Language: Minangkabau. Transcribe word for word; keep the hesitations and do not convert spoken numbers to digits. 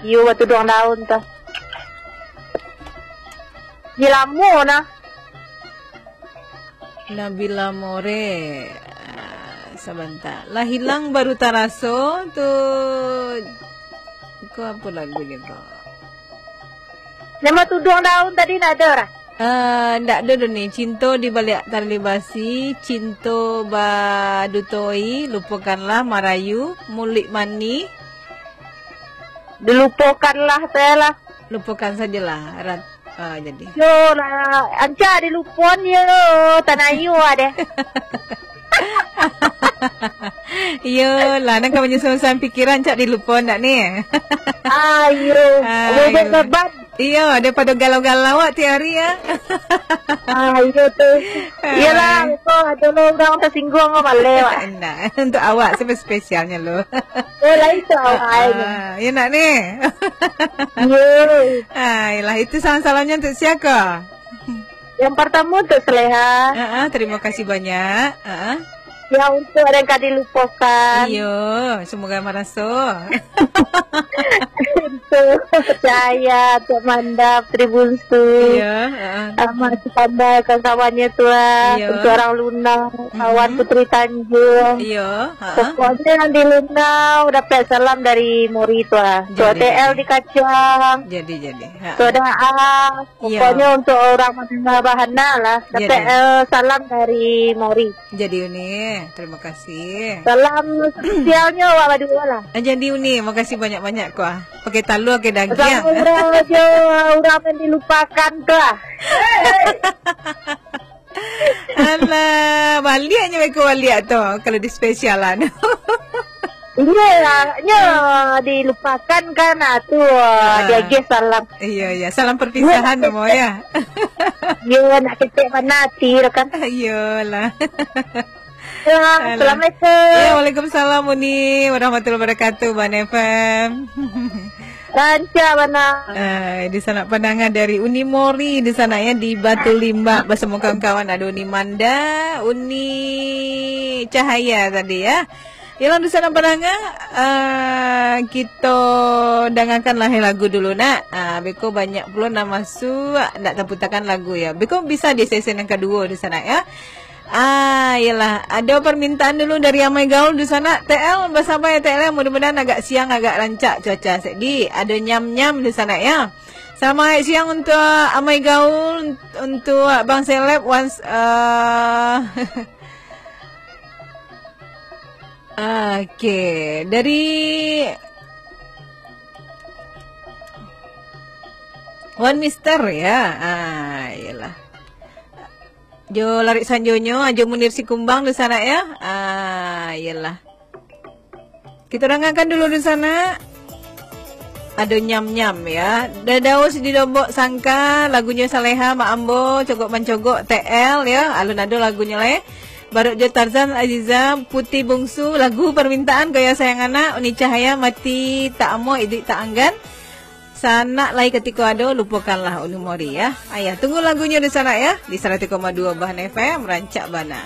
Iyo, batuduang daun tu. Di lamo nah. Nabila More. Ah, sabanta. Lah hilang baru taraso tu. Ko apo lagunyo ko? Nan batuduang daun tadi ndak ado lah. Ah, ndak ado doh ni. Cinto di baliak tali basi, cinto badutoi, lupokanlah marayu, muluik manih. Dilupokanlah sajo lah. Lupokan sajolah, Rat. Ah, jadi. Yo lah, ancak dilupon yo, tanayu deh. Iyo lah, nan ka manyusun pikiran, ancak dilupon ndak ni? Ayo, Ayo. Bobok beban. Iyo, daripado galau-galau awak tiap hari, ya. Ah, iyo tu. Ah. Iyolah, kok ado lo urang tasingguang, kok baleh, Wak. Nah, untuk awak sampai spesialnya lo. Oh, lain tu awak, Ah, ai. Ah, ya nak ni? Iyo. Ah, iyolah, itu salam-salamnya untuk siapa? Yang pertama untuk Saleha. Ah, ah, terima kasih banyak. Ah, ah. Yang untuk ada yang ka dilupokan. Iyo, semoga maraso. Untuk Cahaya, untuk Mandap, Tribunsu. Iyo, ah, ah. Ahmad Sukandar, kawan-kawannya tu lah. Iyo. Untuk orang Lunau, kawan Mhm. Putri Tanjung. Iyo, ah, ah. Pokoknya yang di Lunau dapat salam dari Mori tu lah. Untuk Jadi, T L jadi. Di Kacang. Jadi, jadi. Ha, Soda ha. A. Iyo. Pokoknya untuk orang mandanga bahana lah. Dapat, Jadi. eh, salam dari Mori. Jadi Uni, terima kasih. Salam spesialnya awak badua lah. Ah, jadi Uni, makasih banyak-banyak ko ah. Pakai talua, pakai dagiang. Sama urang jo, urang nan dilupakan tu lah. Alah, baliaknyo beko baliak tu, kalau dispesialan. Iyo lah, nyo dilupakan kan, ah, tu, ah, Ah. diagiah salam. Iyo, iyo. Salam perpisahan Iyo. namo, ya? Iyo, nak ketek mana hati tu kan. Iyolah. Ya, Alah. Assalamualaikum. Ya, waalaikumsalam, Uni, warahmatullahi wabarakatuh, Ban F M. Rancak bana. Ah, di sanak pandanga dari Uni Mori di sanak ya, di Batu Limbak basamo kawan-kawan. Ada Uni Manda, Uni Cahaya tadi ya. Yalah, di sanak pandanga, ah, kito dangakan lah lagu dulu nak. Ah, beko banyak pulo nan masuak, ndak taputakan lagu ya. Beko bisa di sesi yang kaduo di sanak ya. Ah, iyolah. Ado permintaan dulu dari Amai Gaul di sanak. T L, basabar ya, T L, ya. Mudah-mudahan agak siang, agak rancak cuaca. Jadi, ado nyam-nyam di sanak, ya. Selamat siang untuk Amai Gaul, untuk Bang Seleb, once, eh, oke. Dari Wan Mister, ya. Ah, iyolah. Jo Larik Sanjonyo, Ajo Munir Sikumbang di sanak, ya. Ah, iyolah. Kito dangakan dulu di sanak. Ado nyam-nyam, ya. Dadaus di Lombok Sangka, lagunyo Saleha, Mak Ambo, Cogok Mancogok, T L, ya. Alun ado lagunyo lai. Barok jo Tarzan Aziza, Putih Bungsu, lagu permintaan gaya sayang anak, Uni Cahaya, Mati Tak Amuah, Iduik Tak Anggan. Sanak lai katiko ado, lupokanlah Uni Mori, ya. Ayah, tunggu lagunyo di sanak, ya. Di saratus koma duo Bahan F M, rancak bana.